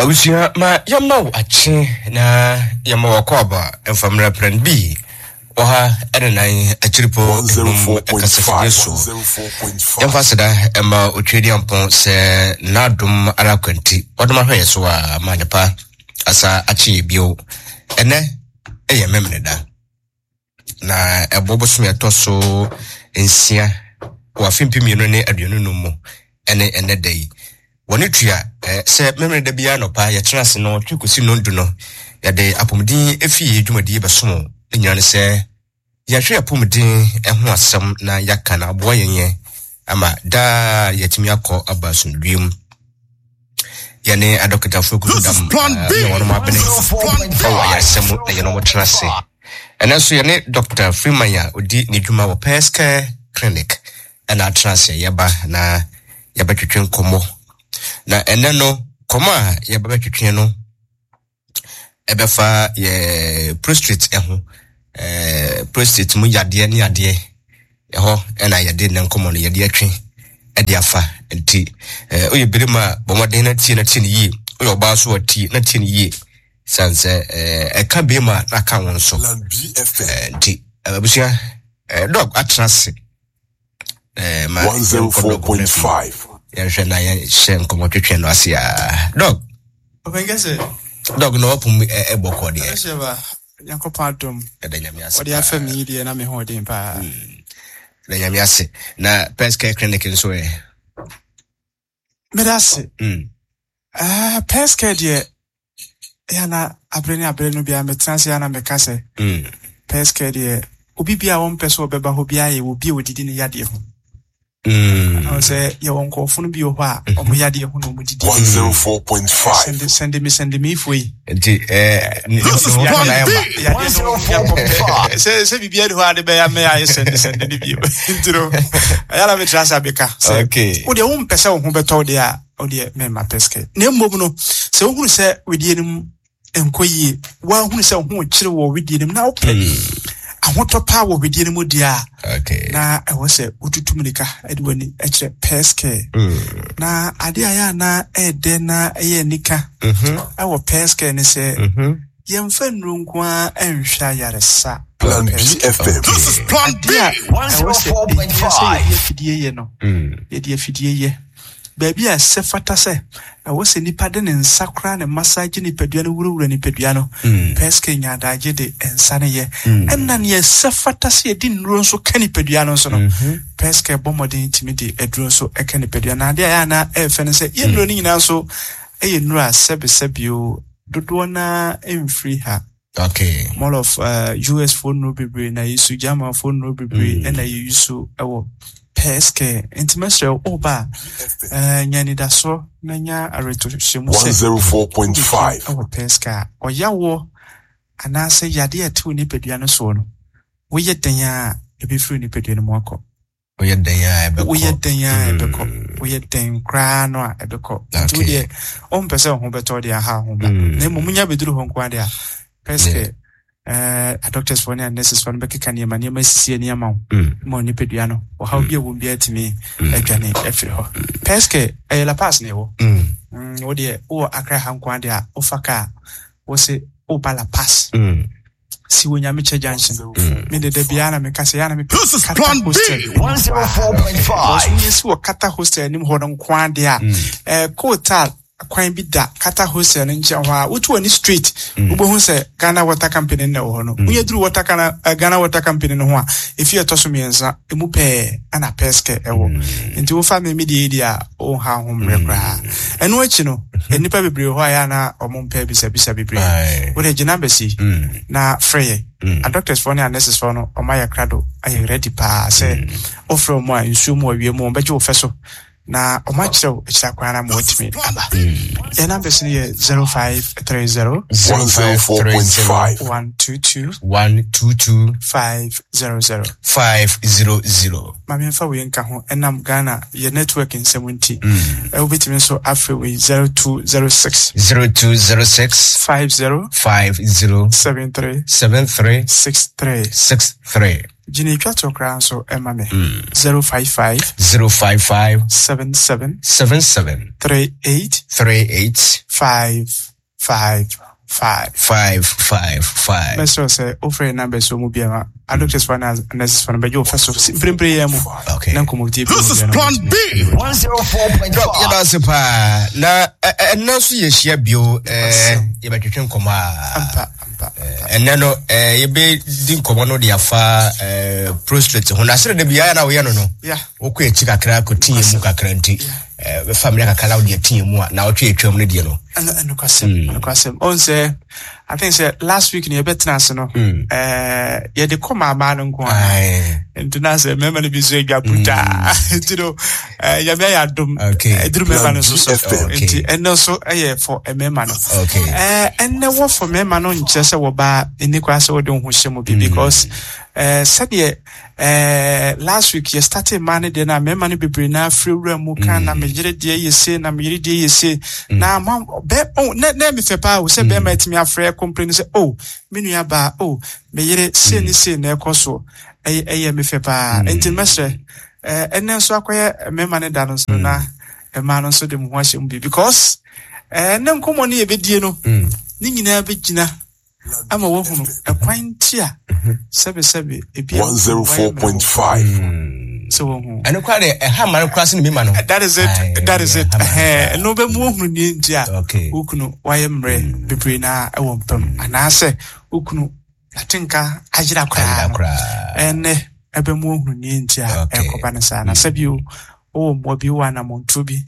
Abusua ma yɛma wo akye na yɛma wo akwaaba mfamra prɛn bi wɔ ha ɛne nan akyiripo enum kasafidie so. Yɛmfa aseda ɛma Otwedeampɔn sɛ n'adom ara kwanti ɔdom ahwɛ yɛ so a ma adepa asa akye yɛ bio. Ɛnɛ ɛyɛ Memeneda. na ɛbɔ bosome ɛtɔ so nsia wɔ afe 2025 mu ɛne ɛnɛ da yi. Wɔne tua sɛ Memeneda da biara nɔpa yɛtena ase no twe kɔsi nnɔndu no yɛde apɔmuden efie dwumadie bɛsom ne nyinaa ne sɛ yɛhwɛ apɔmuden ho asɛm na yɛaka na aboa yɛn yɛn ama daa yɛatumi akɔ aba asomdwoeɛ mu. Yɛne adɔkotafoɔ kuku dam ne wɔn abene wɔ ayaresa mu na yɛne wɔn tena ase. Ɛnɛ nso yɛne Dr. Freeman a ɔdi ne dwuma wɔ Pairs Care Clinic ɛna atena ase yɛba na yɛbɛtwetwe nkɔmmɔ. Na ɛnɛ no nkɔmmɔ a yɛbɛbɛtwetwe no ɛbɛfa yɛ prostate ɛho ɛɛ prostate mu yadeɛ ne adeɛ ɛhɔ ɛna yɛde ne nkɔmmɔ no yɛde atwe ɛde afa nti ɛɛ woyɛ barima a bɔ mmɔden na tie na tie no yie woyɛ ɔbaa so a tie na tie no yie san sɛ ɛɛ ɛka barima na aka wɔn nso ɛɛ nti abusua ɛɛ dɔg atena ase ɛɛ ma yɛnkɔ dɔg ho na afei yɛnhwɛ na yɛnhyɛ nkɔmmɔ twetwe no ase a dɔg dɔg na wapom ɛbɔ kɔ deɛ Nyankopɔn adom. Ɛda Nyame ase. Ɔde afɛ me yi deɛ na me ho ɔden paa. Ɛda Nyame ase. Na Pest Care Clinic nso ɛ? Meda ase. Uh, Pest Care deɛ, ɛyɛ na abere ne abere no biara metena ase a na meka sɛ, Pest Care deɛ, obi bi a wɔmpɛ sɛ ɔbɛba hɔ biara yɛ obi a ɔdidi ne yadeɛ ho. Mm. Sɛ yɛwɔ nkurɔfo no bi wɔ hɔ a mm-hmm. ɔmo yadeɛ ho na ɔmo didi. 104.5. Sɛnde me sɛnde me ifo yi. Nti ɛɛ ne ho na ɛma. Yadeɛ no yɛ sɛ sɛ biribi adi hɔ a de bɛyɛ mɛ ayɛ sɛnde sɛnde ne bio. Nti no ɛyɛ na metra sɛ abɛka. Okay. Wo deɛ wompɛ sɛ wo ho bɛtɔ wo deɛ a wo deɛ mɛma pɛsikɛ. Na mmom no sɛ wohunu sɛ wedeɛ no mu nkɔ yie, woahunu sɛ wo ho kyere wɔ wedeɛ no mu na wopɛ hmm. ahotɔ paa wɔ wedeɛ no mu deɛ a na ɛwɔ sɛ wotutu mirika de w'ani kyerɛ pɛskɛ hmm. na adeɛ a yɛ a na ɛɛdɛ na ɛyɛ anika mhm. ɛwɔ pɛskɛ ne sɛ mhm. yɛmfa nnuro nko ara nhwɛ ayaresa Plan BFM. This is Plan B. Adeɛ a ɛwɔ sɛ ɛhia sɛ yɛde afidie yɛ no hmm. yɛde afidie yɛ Baabi a ɛsɛ fata sɛ ɛwɔ sɛ nipa de ne nsa koraa ne massage nipadua no wurawura nipadua no, Perske nya adagye de nsa no yɛ. Ɛnna nea ɛsɛ fata sɛ yɛde nnuro nso ka nipadua no nso no, Perske bɔ mmɔden tumi de aduro nso ka nipadua no. Ade a ɛyɛ a na ɛyɛ fɛ ne sɛ, yɛn nnuro no nyinaa nso yɛ nnuro a sɛbesɛbe o, dodoɔ no ara mfiri ha. Okay. More of uh, US fo nnuro bebree na yɛsu, German fo nnuro bebree mm. na yɛyi wɔ pɛs care. Nti mɛsrɛ wo woba a uh, nya anidasoɔ na nya awerɛtohyɛmu sɛ 104.5 wɔ pɛs care a ɔyawoɔ anaasɛ yadeɛ a ɛte wo nipadua no soɔ no woyɛ dɛn a ɛbɛfiri nipadua no mu akɔ. Woyɛ dɛn a ɛbɛkɔ. Woyɛ dɛn a ɛbɛkɔ. Mm. Woyɛ dɛn koraa no a ɛbɛkɔ. Nti wo deɛ wompɛ sɛ wo ho bɛtɔ deɛ aha ho ba. Mm. Na mmom wonya bɛduru hɔ nko ara deɛ a pɛ sɛ eh, adoctors foɔ ne a nurses foɔ no bɛkeka nneɛma nneɛma asisi ani ama wo mm. ma nipadua no ɔhaw bi a wɔm biara tumi adwane afiri hɔ. Pɛskɛ ɛyɛ La Paz na ɛwɔ. Wo deɛ wowɔ Accra ha nko ara deɛ a wofa kaa wo se woba La Paz. Si wɔ Nyamekyɛ junction. Mm. Me de da biara na meka sɛ yɛ na mepɛ Kata hostel. Because woyɛ si wɔ Kata hostel anim hɔ no nko ara deɛ a mm. eh, kootal kwan bi da Kata hostel no nkyɛn hɔ a wotu w'ani straight mm. wobɛhu sɛ Ghana Water Company no na ɛwɔ hɔ no. Mm. Woyɛ duru water Ghana, uh, Ghana Water Company no ho a efi ɛtɔ so mmiɛnsa emu pɛɛ ɛna pɛskɛ ɛwɔ. Mm. Nti wofa me me deɛ yi deɛ a wonha ho mmerɛ mm. koraa. Ɛno akyi no, mhm. nnipa bebree hɔ a yɛ na wɔn mpɛ bisabisa bebree. Wode gyina bɛsi mm. na frɛ yɛ. Mm. Adoctorsfoɔ ne anɛsesfoɔ no wɔn ayɛ krado ayɛ ready paa sɛ wofrɛ wɔn a nsuo mu awia mu wɔn bɛgye wo fɛ so na wɔn akyerɛ wo akyiri akwan na ma wɔatumi aba. Yɛn numbers no yɛ 0530 0530 122 122 500 500. Ma memfa wei nka ho, ɛnam Ghana yɛ network nsɛm nti, wobɛtumi nso afrɛ wei 0206. 0206. 50. 50. 73. 73. 63. 63. Gyina etwa toɔ koraa nso ma me. 055. 055. 77. 77. 38. 38. 5. 5 5. 5 5 5. Mɛsrɛ wo sɛ wofrɛ yɛn numbers wɔ mu biara a doctors fo anaa nurses fo no bɛgye wo fɛ so mprempren yɛn mu na nkɔmmɔdie bi This is Plan B. 104.5. Yɛda ase paa na ɛnna nso yɛhyia bio, yɛbɛtwetwe nkɔmmɔ a ɛnɛ no yɛbɛdi nkɔmmɔ no de afa prostrate ho na sɛde da biara na woyɛ no no wokɔ akyi kakra kɔteɛ mu kakra nti bɛfa mmerɛ kakra na wode ateɛ mu a na wotwe atwam no deɛ no. Ɛnokwasɛm, ɛnokwasɛm. Ɔn sɛ I think sɛ last week no yɛbɛtena ase no, yɛde kɔ maamaa no nko a nti na sɛ mmarima no bi nso adwa brutaa nti no Nyame ayɛ adom ɛduru mmarima no nso so, nti ɛno nso ɛyɛ for mmarima no. Ɛnɛ wɔ for mmarima no nkyerɛ sɛ wɔbaa ɛni koraa sɛ wɔde wo ho hyɛ mu bi, because sɛdeɛ last week yɛ started mmaa no deɛ no a, mmarima no bebree na afiri wura mu ka na me yere deɛ yɛ se, na me yere deɛ yɛ se, na ma bɛ oh na na mi fɛ paa o sɛ bɛrima atumi afrɛ complain sɛ, oh, me nua baa, oh, me yere se ne se na ɛkɔ so, ɛyɛ me fɛ paa. Nti mɛsrɛ ɛnɛ nso akɔyɛ mmarima no da no nso na mmaa no nso de mo ho ahyɛ mu bi, because ɛnɛ nkɔmmɔ no yɛbɛdie no ne nyinaa bɛgyina ama woahunu ɛkwan nti a sɛbesɛbe ebi a 104.5. Sɛ wohu ɛno koraa deɛ ɛha ma no koraa sɛ ne mema no. That is it, that is it. Ɛno bɛmu wohunu nie nti a wo kunu wayɛ mmerɛ bebree na ɛwɔ mpam anaasɛ wo kunu atenka ayera koraa no, ɛnɛ ɛbɛmu wohunu nie nti a ɛkɔba no saa. Na sɛbio wowɔ mmoa bi, wowɔ anammɔntuo bi,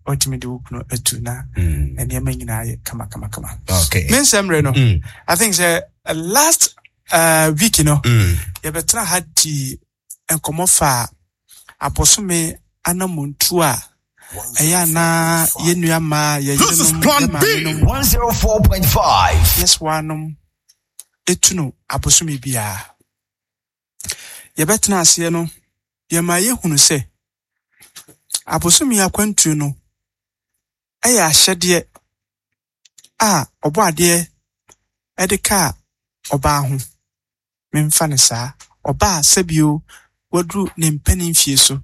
watumi de wo kunu atu na nneɛma nyinaa yɛ kama kama kama. Me nsɛm mmerɛ no, I think sɛ last week no yɛbɛtena ha di nkɔmmɔ fa abosome anammɔntuo a ɛyɛ anaa yɛn nua mmaa, yɛn yerenom, yɛn maamenom, 104.5. yɛsoanom etu no abosome biara. Yɛbɛtena aseɛ no, yɛma yɛhunu sɛ abosome akwantuo no yɛ ahyɛdeɛ a Ɔbɔadeɛ de kaa ɔbaa ho. Memfa no saa. Ɔbaa sɛbio waduru ne mpanin mfie so,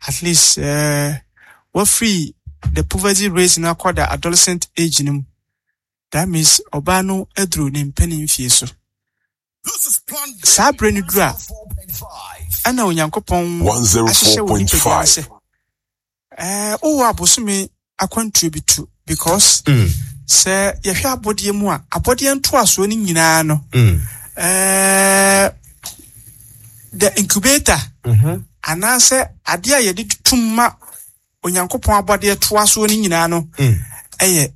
at least wafiri the poverty rate no akɔ the adolescent age no mu. That means ɔbaa no aduru ne mpanin mfie so. Saa berɛ no duru a, ɛna Onyankopɔn ahyehyɛ wɔ nipadua no sɛ wowɔ abosome akwantuo bi tu, because sɛ yɛhwɛ abɔdeɛ mu a, abɔdeɛ ntoasoɔ no nyinaa no, the incubator anaasɛ adeɛ a yɛde tum ma Onyankopɔn abɔdeɛ toasoɔ no nyinaa no ɛyɛ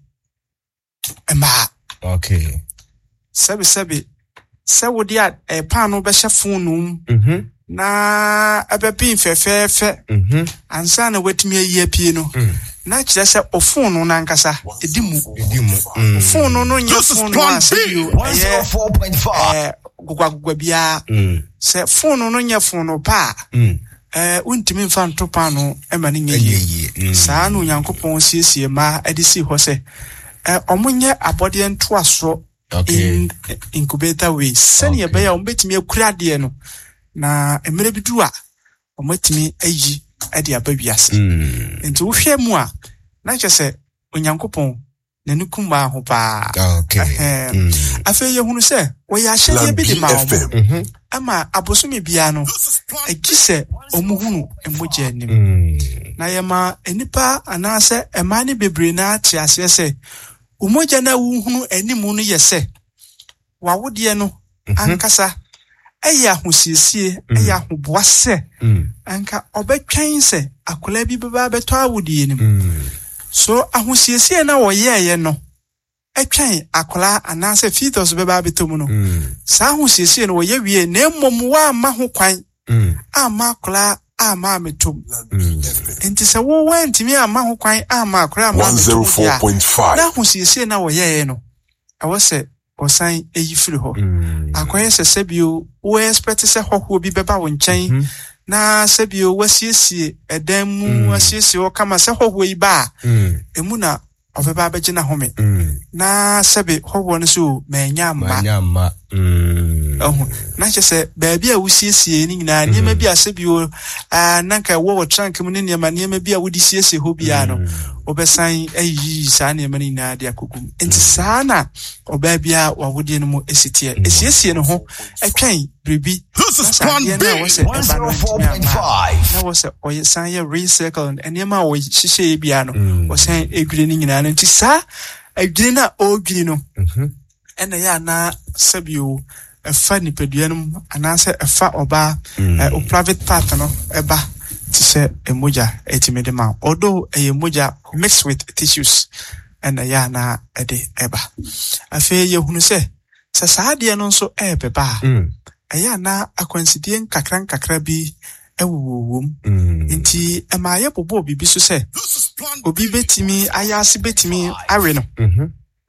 mmaa. Okay. Sɛbesɛbe, sɛ wode a eh, paano bɛhyɛ fononoo mu na ɛbɛben fɛfɛɛfɛ ansa na woatumi ayi apue no, na kyerɛ sɛ ofonoo no ankasa ɛdi mu. Ɛdi mu. Fononoo no nyɛ This is fononoo Plan a sɛ B. bio ɛyɛ 104.5. gogwagogoa biara. Sɛ fononoo no nyɛ fononoo pa a, wontumi mfa nto paanoo ma no nyɛ Ɛnyɛ yie. yie. Saa na Onyankopɔn siesie mmaa de sii hɔ sɛ wɔnyɛ abɔdeɛ ntoasoɔ in incubator way sɛnea ɛbɛyɛ a wɔbɛtumi akura adeɛ no na mmerɛ bi du a wɔatumi ayi de aba wiase. Nti wohwɛ mu a, na kyerɛ sɛ Onyankopɔn n'ani ku mmaa ho paa. Afei yɛhunu sɛ wɔyɛ ahyɛdeɛ bi de ma wɔn ɛma abosome biara no agye sɛ wɔhunu mogya anim. Na yɛma nnipa anaasɛ mmaa no bebree no ara te aseɛ sɛ wo mogya no a wohunu anim no yɛ sɛ w'awodeɛ no ankasa yɛ ahosiesie, yɛ ahoboa sɛ anka ɔbɛtwɛn sɛ akwadaa bi bɛba abɛtɔ awodeɛ no mu. So ahosiesie no a wɔyɛeɛ no twɛn akwadaa anaasɛ fetus bɛba abɛtɔ mu no, saa ahosiesie no wɔyɛ wie, na mmom wɔamma ho kwan amma akwadaa amma ammɛtɔ mu. Nti sɛ wo woantumi amma ho kwan amma akwadaa amma ammɛtɔ mu deɛ a, na ahosiesie no a wɔyɛeɛ no, ɛwɔ sɛ wɔsan yi firi hɔ. Akɔyɛ sɛ sɛbio wo expect sɛ hɔhoɔ bi bɛba wo nkyɛn na sɛbio wasiesie ɛdan mu, asiesie hɔ kama sɛ hɔhoɔ yi ba a, emu na ɔbɛba abɛgye n'ahome. Na sɛbe hɔhoɔ no so, manya mma. Manya mma. Ɛho na kyerɛ sɛ baabi a wosiesie ne nyinaa, nneɛma bi a sɛ bi o, na nka ɛwɔ wɔ trunk mu ne nneɛma nneɛma bi a wode siesie hɔ biara no, wobɛsan ayiyi saa nneɛma no nyinaa de akɔgu mu. Nti saa na ɔbaa biara wawodeɛ no mu esi teɛ. Esiesie ne ho ɛtwɛn biribi na saa adeɛ no a wɔsɛ ɛba no ntumi amma a, na wɔsɛ ɔyɛ san yɛ recycle nneɛma a wɔhyehyɛ biara no, wɔsan edwiri ne nyinaa no. Nti saa adwiri no a ɔredwiri no, ɛna ɛyɛ anaa sɛbio ɛfa nipadua no mu anaasɛ ɛfa ɔbaa o private part no ɛba te sɛ mogya ɛtumi de ma, although ɛyɛ mogya mixed with tissues ɛna ɛyɛ anaa ɛde ɛba. Afei yɛhunu sɛ sɛ saa adeɛ no nso ɛrebɛba a, ɛyɛ anaa akwansideɛ nkakra nkakra bi ɛwowɔ wom. Nti ɛma yɛbobɔɔ biribi so sɛ obi bɛtumi ayɛ ase bɛtumi awe no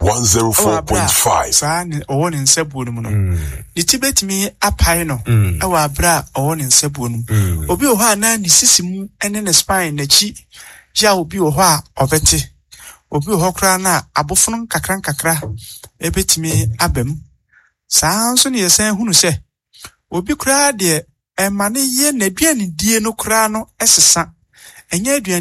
ɛwɔ abere a 104.5. saa ne ɔwɔ ne nsabuo no mu no. Ne ti bɛtumi apae no ɛwɔ abere a ɔwɔ ne nsabuo no mu. Obi wɔ hɔ a na ne sisi mu ne ne spine n'akyi yaw bi wɔ hɔ a ɔbɛte. Obi wɔ hɔ koraa na abofono nkakra nkakra ɛbɛtumi aba mu. Saa nso ne yɛsan hunu sɛ obi koraa deɛ ɛma ne yɛ n'aduanedie no koraa no ɛsesa. Ɛnyɛ aduane